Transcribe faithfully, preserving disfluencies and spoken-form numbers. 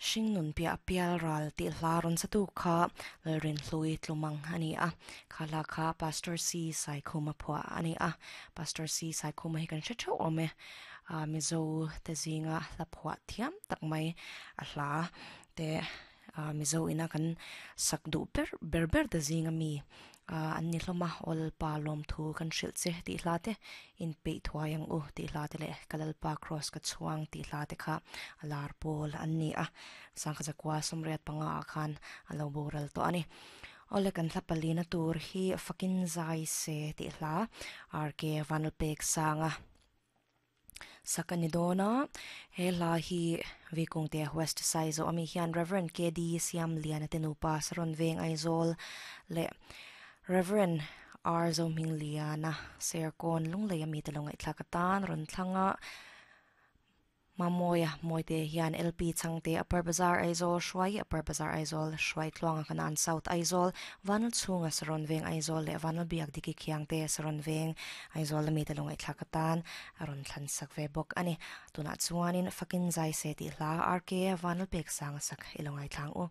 Hringnun piah pial ral tih hla rawn sa tu kha Lalrinhlui tlumang a ni a kha hla kha Pastor C Saikhuma phuah a ni a Pastor C Saikhuma hi kan hre theuh awm e ah Mizo te zinga hla phuah thiam tak mai a hla te ah Mizo ina kan sak duh ber ber ber te zinga mi ah an ni hlawm a aw lalpa lawm thu kan hrilh che tih hla te inpeih thuai ang u tih hla te leh ka lalpa cross ka chhuang tih hla te kha a lar pawl an ni a sangha zakua sawmriat panga ah khan a lo boral tawh a ni awle kan hla palina tur hi fakin zai se tih hla R K Vanlalpek sanga sak a ni dawn a he hla hi Vikungte West Saizaw ami hian Reverend K D Siamliana te nupa Saron Veng Aizawl leh Reverend R Zohmingliana Serkawn Lunglei ami te lo ngaihthlak atan rawn thlang a Mamawia Mawite hian L P Chhangte Upper Bazar Aizawl Hruai Upper Bazar Aizawl Hruai Tluanga Kanan South Aizawl Vanal chhunga Saron Veng Aizawl leh Vanal Biak Diki Khiangte Saron Veng Aizawl ami te lo ngaihthlak atan a rawn thlan sak ve bawk a ni. Tunah chuanin Fakin Zai Se tih hla R K Vanal Pek Sanga sak i lo ngaithlang u.